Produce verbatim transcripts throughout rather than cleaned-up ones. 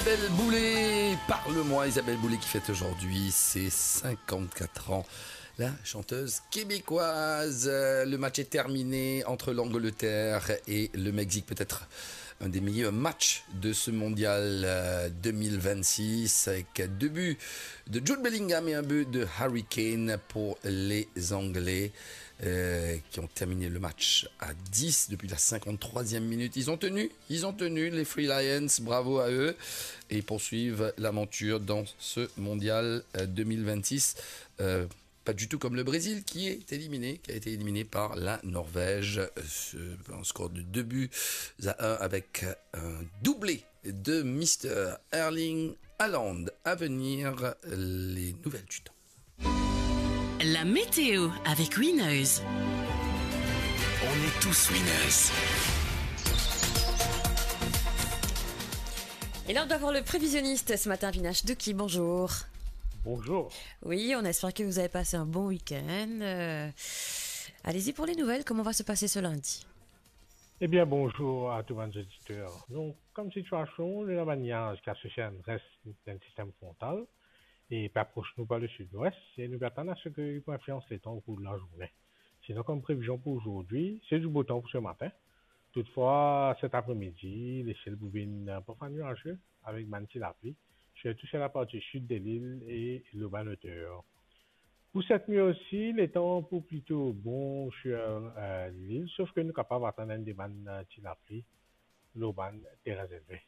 Isabelle Boulay, parle-moi. Isabelle Boulay qui fête aujourd'hui ses cinquante-quatre ans. La chanteuse québécoise. Euh, le match est terminé entre l'Angleterre et le Mexique. Peut-être un des meilleurs matchs de ce mondial, euh, deux mille vingt-six, avec deux buts de Jude Bellingham et un but de Harry Kane pour les Anglais, euh, qui ont terminé le match à dix depuis la cinquante-troisième minute. Ils ont tenu, ils ont tenu, les Three Lions, bravo à eux, et ils poursuivent l'aventure dans ce mondial, euh, deux mille vingt-six. Euh, pas du tout comme le Brésil qui est éliminé, qui a été éliminé par la Norvège, euh, ce- un score de deux buts à un avec un doublé de Mister Erling Haaland. À venir, les nouvelles du temps. La météo avec Winners. On est tous winners. Et là, on doit voir le prévisionniste ce matin, Avinash Douki. Bonjour. Bonjour. Oui, on espère que vous avez passé un bon week-end. Euh, allez-y pour les nouvelles. Comment va se passer ce lundi ? Ebien, bonzour a tou bann zoditer. Donk, kom sitiasion, nou ena bann niaz ki asosie enn res dan sistem frontal e pe apros nou par le sidwes, e nou pe atann a se ki li pou inflians letan okour de lazourne. Sinon, kom previzion pou zordi, se di bo tan pou se matin. Toutfwa, set apremidi, lesiel pou vinn, eh, parfwa nwaze, avek bann ti lapli, sirtou si laparti sid de lil e lor bann oter. Pou set nwi osi, letan pou plito bon sir, eh, lil, sof ki nou kapav atann enn de bann, eh, ti lapli lor bann terin zelve.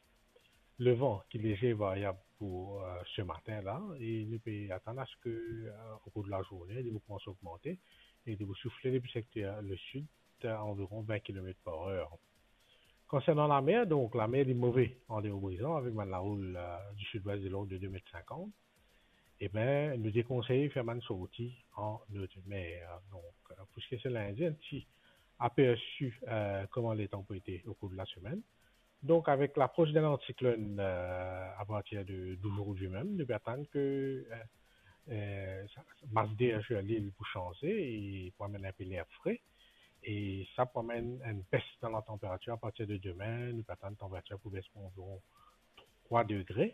Levan ki leze varyab pou, eh, se matin la, e nou pe atann a se ki, eh, okour de lazourne, li pou koumans ogmante e li pou soufle depi sekter lesid, eh, anviron vin kilomet par er. Konsernan lamer, donk, lamer li move andeor Brizan avek bann laroul, eh, di sidwes de lord de de met sinkant. Ebien, nou dekonsey fer bann sorti an notre mer. Donk, eh, pou seki se lindi, enn ti apersi, eh, kouma letan pou ete okour de lasemenn. Donk, avek lapros de lantiklonn, eh, apartir de, d'ozordi mem, nou pe atann ki, eh, eh, sa, mas der sir lil pou sanze e pou amenn enpe ler fre. E sa pou amenn enn bes dan latanperatir apartir de demin. Nou pe atann tanperatir pou bes par anviron trwa degre.